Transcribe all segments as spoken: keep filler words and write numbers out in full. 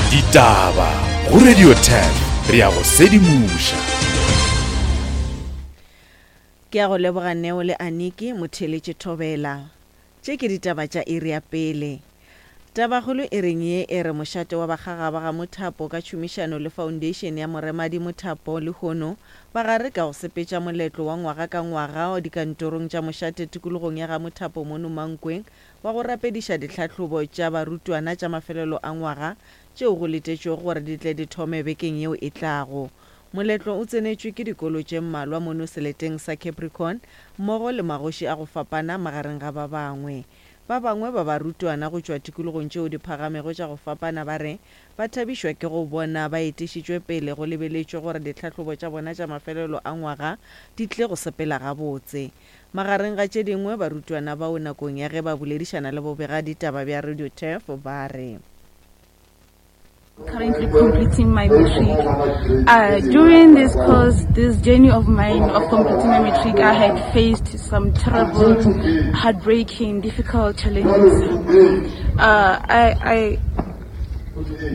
Ditaba go Radio ten, re a go sedimoša. Ke a go leboga Neo le Aniki motheeletše thobela. Tše ke ditaba tša iri ya pele. Tabakgolo e reng ye e re mošate wa Bakgagaba ga Mothapo ka tšhomišano le Foundation ya Moremadi Mothapo lehono ba gare ka go sepetša moletlo wa ngwaga ka ngwaga dikantorong tša mošate tikologong ya ga Mothapo mono Mankweng wa go rapediša ditlhahlobo tša barutwana tša mafelelo a ngwaga tšeo go letetšwego gore di tle di thome bekeng yeo e tlago. Moletlo o tsenetšwe ke dikolo tše mmalwa mono seleteng sa Capricorn mmogo le magoši a go fapana magareng ga ba bangwe. Ba bangwe ba barutwana go tšwa tikologong tšeo di phagamego tša go fapana ba re ba thabišwa ke go bona ba etišitšwe pele go lebeletšwe gore ditlhahlobo tša bona tša mafelelo a ngwaga di tle go sepela gabotse. Magareng ga tše dingwe barutwana bao nakong ya ge ba boledišana le bobega ditaba bja Radio Turf ba re Currently completing my matric. Uh, during this course, this journey of mine of completing my matric, I had faced some terrible, heartbreaking, difficult challenges. Uh, I, I,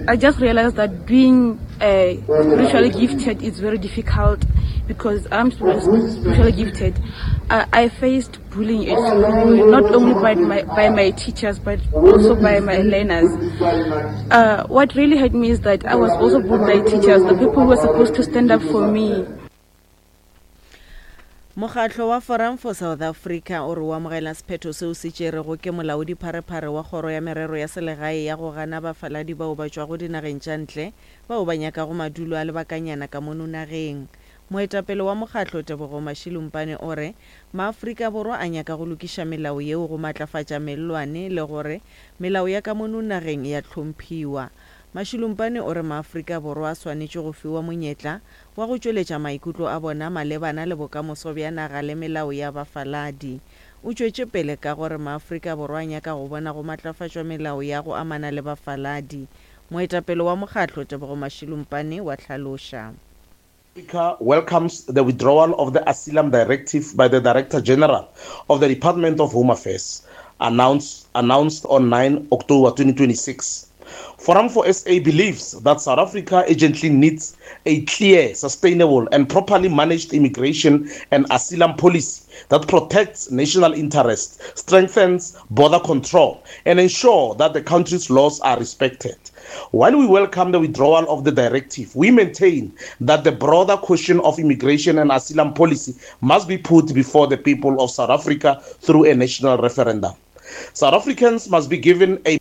I just realized that being uh, spiritually gifted is very difficult because I'm spiritually gifted. Uh, I faced bullying at school, not only by my, by my teachers, but also by my learners. Uh, what really hurt me is that I was also bullied by teachers, the people who were supposed to stand up for me. Mokgatlo wa Forum for South Africa o re o amogela sephetho seo se tšerego ke molaodi pharephare wa kgoro ya merero ya selegae ya go gana bafaladi bao ba tšwago dinageng tša ntle bao ba nyakago madulo a lebakanyana ka mono nageng. Moetapele wa mokgatlo Tebogo Mashilumpane o re maAfrika Borwa a nyaka go lokiša melao yeo go matlafatša mellwane le gore melao ya ka mono nageng ya hlomphiwa. Mashilumpane o re maAfrika Borwa a swanetše go fiwa monyetla wa go tšweletša maikutlo a bona malebana le bokamoso bja naga le melao ya bafaladi. O tšwetše pele ka gore maAfrika Borwa a nyaka go bona go matlafatšwa melao ya go amana le bafaladi. Moetapele wa mokgatlo Tebogo Mashilumpane wa hlaloša. Africa welcomes the withdrawal of the Asylum Directive by the Director General of the Department of Home Affairs, announced, announced on nine October twenty twenty-six. Forum for S A believes that South Africa urgently needs a clear, sustainable and properly managed immigration and asylum policy that protects national interests, strengthens border control, and ensure that the country's laws are respected. While we welcome the withdrawal of the directive, we maintain that the broader question of immigration and asylum policy must be put before the people of South Africa through a national referendum. South Africans must be given a